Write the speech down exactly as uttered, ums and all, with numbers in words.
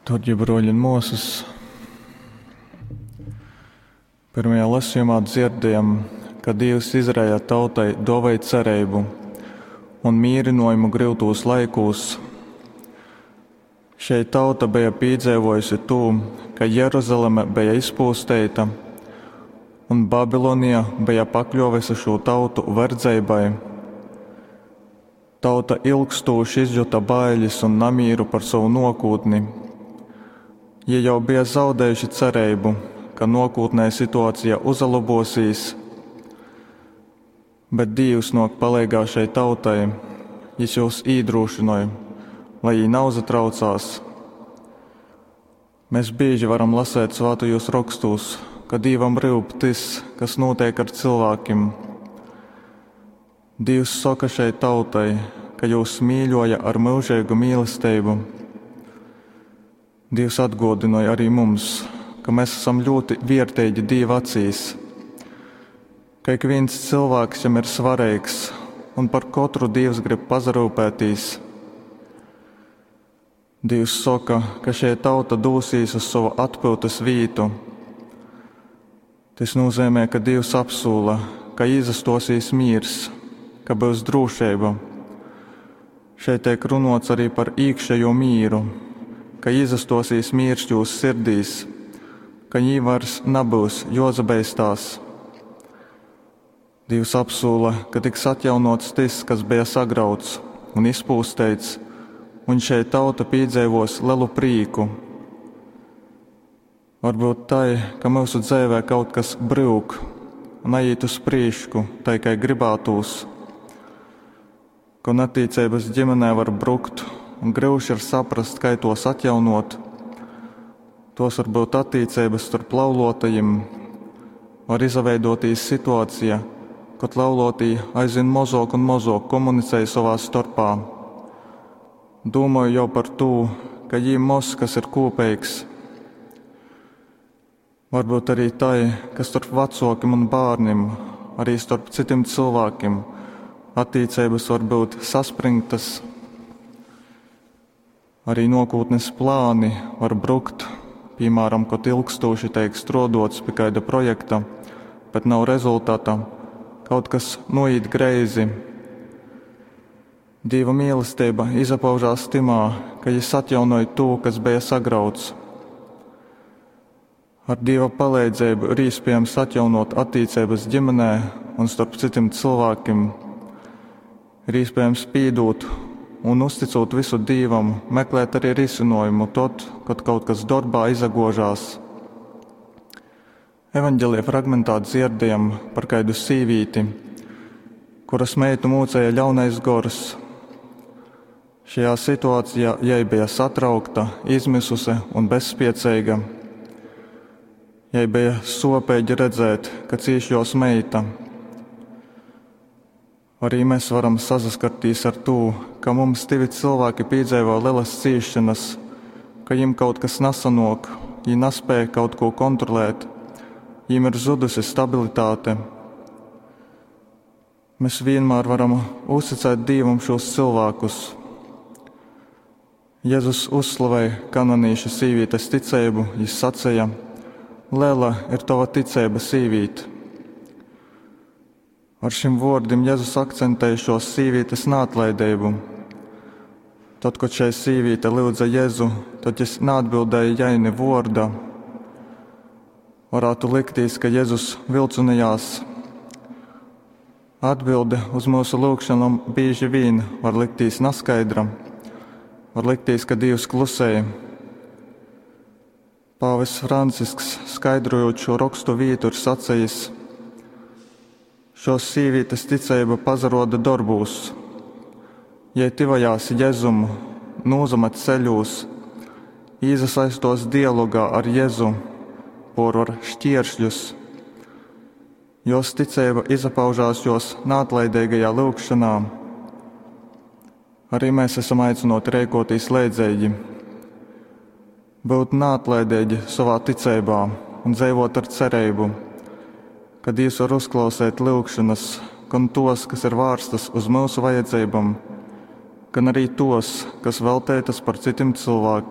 Darbie broļi un māsas, pirmajā lasījumā dzirdējam, ka Dievs Izraēla tautai dāvāja cerību un mierinājumu gryutūs laikūs. Šeit tauta bija piedzīvojusi to, ka Jeruzaleme bija izpūsteita un Babilonija bija pakļuvusi šo tautu verdzeibai. Tauta ilgstoši izjuta bailes un namīru par savu nākotni. Jie jau bija zaudējuši cerību, ka nākotnē situācija uzlabosies, bet Dievs nāk palīgā šai tautai, Jis jūs iedrošināja, lai viņi neuzatraucās. Mēs bieži varam lasēt svētajos rakstos, ka Dievam rūp tas, kas notiek ar cilvēkiem. Dievs saka šai tautai, ka jūs mīļoja ar mūžīgu mīlestību. Dievs atgodināja arī mums, ka mēs esam ļoti vērtīgi Dieva acīs, ka ik viens cilvēks jam ir svarīgs un par katru Dievs grib pazarūpētīs. Dievs saka, ka šie tauta dūsīs uz savu atpūtas vītu. Tas nozīmē, ka Dievs apsūla, ka izastosīs miers, ka būs drošība. Šeit tiek runots arī par iekšējo mīru, ka izastosīs miers jūsu sirdīs, ka jī vairs nebūs jozabeistās. Dievs apsūla, ka tiks atjaunots tas, kas bija sagrauts un izpūsteits, un šeit tauta piedzīvos lielu prīku. Varbūt tai, ka mūsu dzīvē kaut kas brūk un aiziet uz prīšku, tai kā gribētūs. Ka attiecības ģimenē var brukt un grūti ir saprast, kā tos atjaunot. Tos var būt attiecības starp laulotajiem, var izveidotīs situācija, kad laulotī aizvien mazāk un mazāk komunicēja savā starpā. Domāju jau par to, ka jīm maz kas ir kopīgs. Varbūt arī tai, ka starp vecākiem un bērniem, arī starp citiem cilvēkiem, attiecības var būt saspringtas. Arī nākotnes plāni var brukt, piemēram, kad ilgstoši tiek strodots pie kāda projekta, bet nav rezultāta, kaut kas noiet greizi. Dieva mīlestība izpaužās timā, ka jis atjaunoja to, kas bija sagrauts. Ar Dieva palīdzību ir iespējams atjaunot attiecības ģimenē un starp citiem cilvēkiem. Ir iespējams pīdot un uzticot visu Dievam, meklēt arī risinājumu tad, kad kaut kas darbā izagožās. Evanģelija fragmentā dzirdējam par kādu sīvīti, kuras meitu mūcēja ļaunais gors. Šajā situācijā jai bija satraukta, izmisuse un bezspiecīga. Jai bija sopīgi redzēt, ka cīš jos meita. Arī mēs varam saskarties ar to, ka mums divi cilvēki piedzīvo lielas cīšanas, ka viņiem kaut kas nesanok, viņi nespēja kaut ko kontrolēt, viņiem ir zudusi stabilitāte. Mēs vienmēr varam uzticēt Dievam šos cilvēkus. Jēzus uzslavēja kanonīša sīvītes ticību, viņš sacīja: Liela ir tava ticība, sīvīt. Ar šim vārdiem Jēzus akcentēja šo sīvītes neatlaidību. Tad, kad šai sīvīte lūdza Jēzu, tad jis neatbildēja jai ne vārda. Varētu liktīs, ka Jēzus vilcinājās. Atbilde uz mūsu lūgšanām bieži vien var liktīs neskaidra. Var liktīs, ka Dievs klusēja. Pāvests Francisks, skaidrojot šo rakstu vietu, ir sacījis: Šos sīvītes ticība pazaroda darbūs. Jai tivajās Jēzumu, nūzamat ceļūs, īzasaistos dialogā ar Jēzu, porvar šķieršļus. Jos ticība izpaužās jos neatlaidīgajā lūgšanā. Arī mēs esam aicināti rēkotīs leidzīgi, būt neatlaidīgi savā ticībā un dzīvot ar cerību, ka Dievs var uzklausīt lūgšanas, gan tos, kas ir vērstas uz mūsu vajadzībām, gan arī tos, kas veltētas par citiem cilvēkiem.